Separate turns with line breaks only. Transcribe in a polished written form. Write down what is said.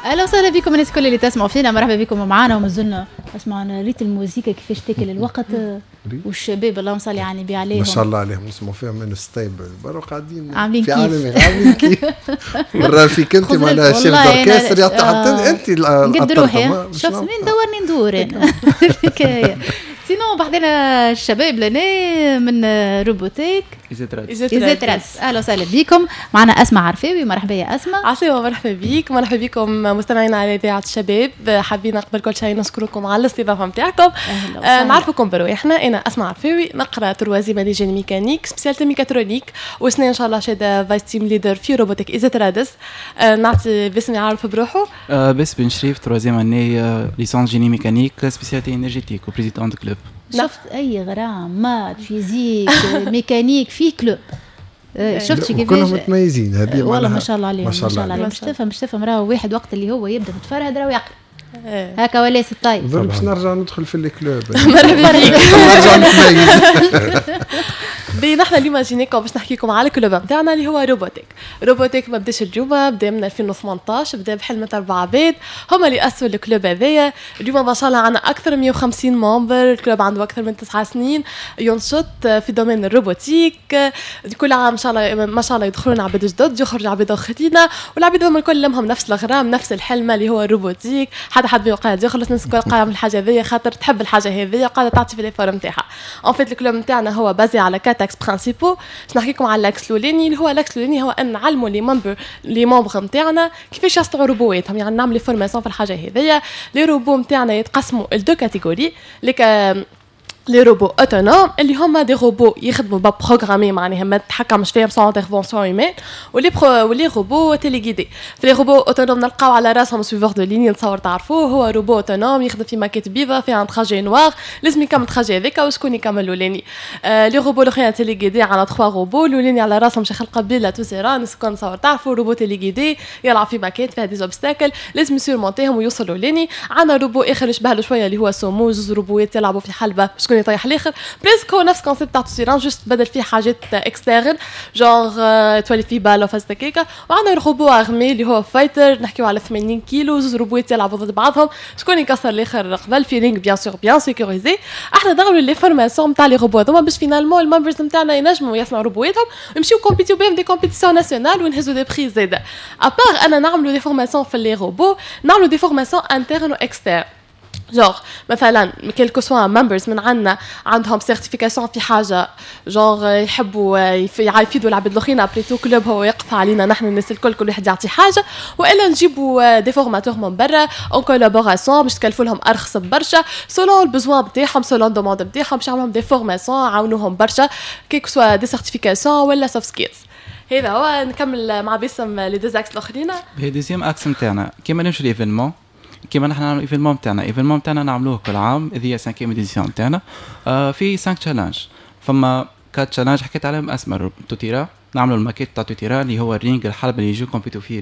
اهلا وسهلا بكم الناس الكل اللي تسمعوا فينا، مرحبا بكم معنا. ومازلنا اسمعنا ريت الموزيكا كيفاش تاكل الوقت، والشباب اللهم صل على النبي عليهم.
ما شاء الله عليهم، نسمعوا فيهم من السطيب برا قاعدين
عاملين
في
كيف.
عالم عاملين كيف مرة فيك انت معناها chef d'orchestre يعطي حتى انت.
نقد روحي، شفت مين دورني ندور انا الحكايه. sinon بحذانا الشباب لنا من Robotech ISET رادس. اهلا وسهلا بكم. معنا اسماء عرفاوي، مرحبا يا اسماء.
عسلامة، مرحبا بك، مرحبا بكم مستمعينا على اذاعة الشباب. حابين قبل كل شيء نشكركم على الاستضافة نتاعكم. نعرفكم برواحنا، انا اسماء عرفاوي، نقرا troisième année génie mécanique spécialité mécatronique، وسنة ان شاء الله شاده vice team leader في Robotech ISET رادس. نعطي باسم يعرف بروحه.
باسم بن شريف، troisième année licence génie mécanique spécialité énergétique و président du club.
شفت اي غرام maths، physique، mécanique في club، شفت كيفاش؟
كلهم متميزين هذه.
والله ما شاء الله عليهم، ما شاء الله عليهم. مش تفهم راهو واحد وقت اللي هو يبدا متفرهد راهو يقرا هكا ولا طيب.
باش نرجع ندخل في ال club.
مرحبا بك.
نرجع نتميز.
بي نحن اليوم جيناكم باش نحكي لكم على ال club نتاعنا اللي هو Robotech. Robotech ما بداش اليوم، بدا من 2018، بدا بحلمة اربع عباد هما اللي اسسوا ال club هذايا. اليوم ما شاء الله عندنا اكثر من 150 membres. ال club عنده اكثر من 9 سنين ينشط في domaine ال robotique. كل عام ان شاء الله ما شاء الله يدخلون عباد جدد، يخرج عباد اخرين، والعباد هذوما الكل لمهم نفس الغرام، نفس الحلمة اللي هو ال robotique. حتى حد ما قاعد يخلص، الناس الكل قاعدة من الحاجة هذيا خاطر تحب الحاجة هذيا، قاعدة تعطي في les efforts نتاعها. en fait ال club نتاعنا هو basé على quatre axes principaux. باش نحكي لكم على l'axe الاولاني، اللي هو l'axe الاولاني هو ان نعلموا les membres نتاعنا كيفاش يصنعوا روبواتهم، يعني نعمل les formations في الحاجة هذيا. les robots نتاعنا يتقسموا ل deux catégories: les robots autonomes اللي هما des robots يخدموا pas programmés، معناها ما تحكمش فيهم sans intervention humaine، و les robots téléguidés. في les robots autonomes نلقاو على راسهم suiveur de ligne، نتصور تعرفوه، هو robot autonome يخدم في ماكيت بيضاء فيها un trajet noir، لازم يكمل trajet هذاك وشكون يكمل الاولاني. les robots الاخرين téléguidés، عندنا 3 robots. الاولاني على راسهم شيخ القبيلة tout terrain، الناس نتصور تعرفوا، robot téléguidé يلعب في ماكيت فيها des obstacles، لازم يسيرمونتيهم ويوصل الاولاني. عندنا روبو اخر يشبه له شوية اللي هو سومو، زوز روبوات يلعبوا في حلبه، شكون يطيح الاخر. presque هو نفس concept تاع tout terrain، juste بدل فيه حاجات externes، genre تولي فيه balle وفاز هكاكا. وعندنا robot armé اللي هو fighter، نحكيو على 80 كيلو، زوز روبوات يلعبوا ضد بعضهم، شكون يكسر الاخر قبل، في ring bien sûr bien sécurisé. احنا نعملوا les formations نتاع les robots هذوما باش finalement ال membres نتاعنا ينجموا يصنعوا روبواتهم ويمشيو كومبيتيو بهم des compétitions nationales ونهزوا des prix زاده. à part انا نعملوا des formations في les robots، نعملوا des formations internes و externes، genre مثلا quel que soit members من عندنا عندهم certification في حاجه، genre يحبوا يفيدوا العباد الاخرين، après tout club هو يقف علينا نحن الناس الكل، كل واحد يعطي حاجه، والا نجيبوا des formateurs من برا en collaboration باش تكلفوا لهم ارخص برشا، selon ال besoin نتاعهم، selon demande نتاعهم، باش يعملوا des formations عاونوهم برشا، que ce soit des certifications ولا soft skills. هذا هو. نكمل مع باسم les deux axes الاخرين.
هي deuxième axe نتاعنا كيما نمشوا l'événement، كيما نحن نعملوا événement نتاعنا، événement نتاعنا نعملوه كل عام، هذه cinquième édition نتاعنا، في 5 challenges. فما quatre challenges حكيت عليهم اسماء، tout terrain، نعملوا الماكيت تاع tout terrain اللي هو ال ring، الحلبة اللي يجوا كومبيتو فيه.